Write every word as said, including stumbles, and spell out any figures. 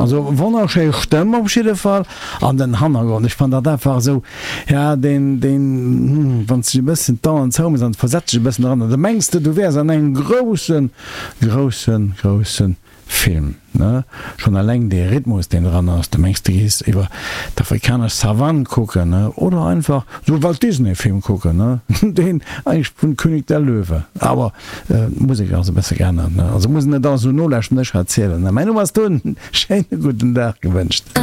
Also wonnerschéi Stëmm op jidde Fall an den Hannergrond, ech fannen dat einfach esou, ja deen, deen, wann s de e bëssen d'Aen zouméchs an versetz dech e bëssen dran, da mengs de du wäers an engem groussen, groussen, groussen Film, ne? Schonn eleng dee Rhythmus, deen dran ass, du mengs, du gees iwwer d'afrikanesch Savann kucken, ne? Oder einfach sou Walt Disney Film kucken, ne? Deen eigentlech vun König der Löwe. Awer d'Musek ass e bësse geännert, ne? Also muss een net alles esou nolauschteren, ech erzielen, ne? Mäin Numm ass Tun, schéine gudden Dag gewënscht.